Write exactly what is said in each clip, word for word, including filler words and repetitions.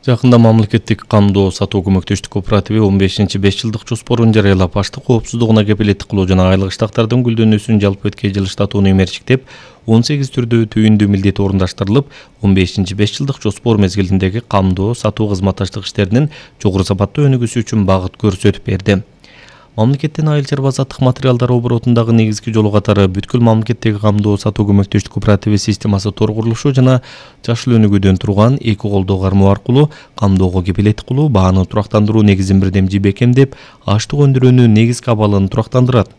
Жакында мамлекеттик камдоо сатуу көмөктөштүк кооперативи он бешинчи беш жылдык жоспорун жарыялап, аштык коопсуздугуна кепилеттик кылуу жана айлык штактардын гүлдөнүүсүн жалпы өткөн жыл штатууну мерчиктеп, он сегиз түрдүү түйүндүү милдет орундаштырылып, он бешинчи беш жылдык жоспор мезгилиндеги камдоо сатуу кызматташтык иштеринин жогору сапаттуу өнүгүүсү үчүн багыт көрсөтүп берди. Мамлекеттин айыл чарба заттык материалдар оборотундагы негизги жолу катары бүткүл мамлекеттеги камдоо сатуу көмөктөштүк кооперативи системасы тор курулушу жана жашыл өнүгүүдөн турган эки колдоо кармоо аркылуу камдоого кепилеттик кылуу бааны турактандыруу негизин бирдемчи бекемдеп, аштык өндүрүүнүн негизги абалын турактандырат.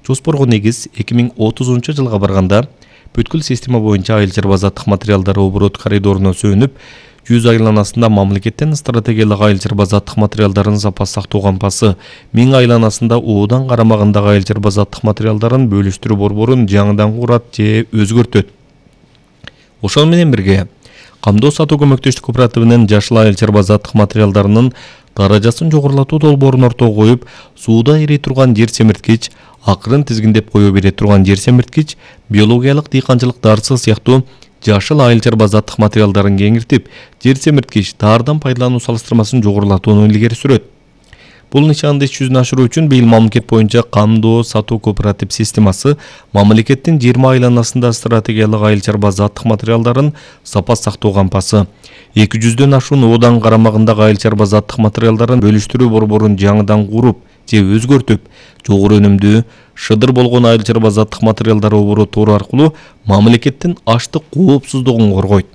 Жоспорго негиз эки миң отузунчу жылга барганда бүткүл система боюнча айыл чарба заттык материалдар оборот коридоруна сүйүнүп, жүз айланасында мамлекеттин стратегиялык айыл чарба заттык материалдарын запас сактоо кампасы, миң айланасында оодан карамагындагы айыл чарба заттык материалдарын бөлүштүрүү борборун жаңыдан курат же өзгөртөт. Ошол менен бирге, камдоо сатуу көмөктөштүк кооперативинин жашыл айыл чарба заттык материалдарынын даражасын жогорулатуу долбоорун ортого коюп, сууда эри турган жер семирткич, акырын тизгиндеп кое бере турган жер семирткич, биологиялык дыйканчылык дарысы сыяктуу жашыл айыл чарба заттык материалдарын кеңиртип, жер семирткич таардан пайдалануу салыштырмасын жогорулатууну илгери сүрөт. Бул нишанды иш жүзүнө ашыруу үчүн быйыл мамлекет боюнча камдоо сатуу кооператив системасы мамлекеттин жыйырма айланасында стратегиялык айыл чарба заттык материалдарын запас сактоо кампасы, эки жүздөн ашуун оодан карамагындагы айыл чарба заттык материалдарын бөлүштүрүү борборун жаңыдан куруп же өзгөртүп, жогору өнүмдүү, шыдыр болгон айыл чарба заттык материалдар оборотору аркылуу мамлекеттин аштык коопсуздугун коргойт.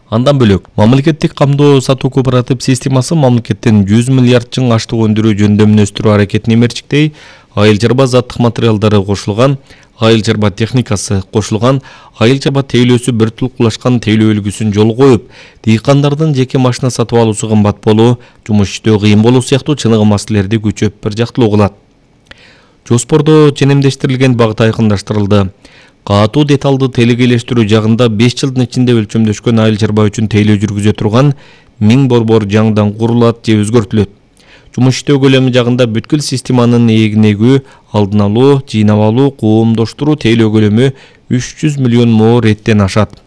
Андан бөлөк, мамлекеттик камдоо сатуу кооператив системасы мамлекеттин жүз миллиард чың аштык өндүрүү жөндөмүн өстүрүү аракетин эмерчиктей, айыл чарба заттык материалдары кошулган, айыл чарба техникасы кошулган, айыл чарба тейлөөсү бир тулкулашкан тейлөө үлгүсүн жолго коюп, дыйкандардын жеке машина сатып алуусу кымбат болуу, жумуш иштөө кыйын болуу сыяктуу чыныгы маселелерди күчөп бир жактылуу кылат. Жоспордо ченемдештирилген багыт айкындаштырылды. Катуу деталдуу телегейлештирүү жагында беш жылдын ичинде өлчөмдөшкөн айыл чарба үчүн тейлөө жүргүзө турган миң борбор жаңыдан курулат же өзгөртүлөт. Жумуш иштөө көлөмү жагында бүткүл системанын эгнегүү, алдын алуу, жыйнап алуу, коомдоштуруу тейлөө көлөмү үч жүз миллион мо реттен ашат.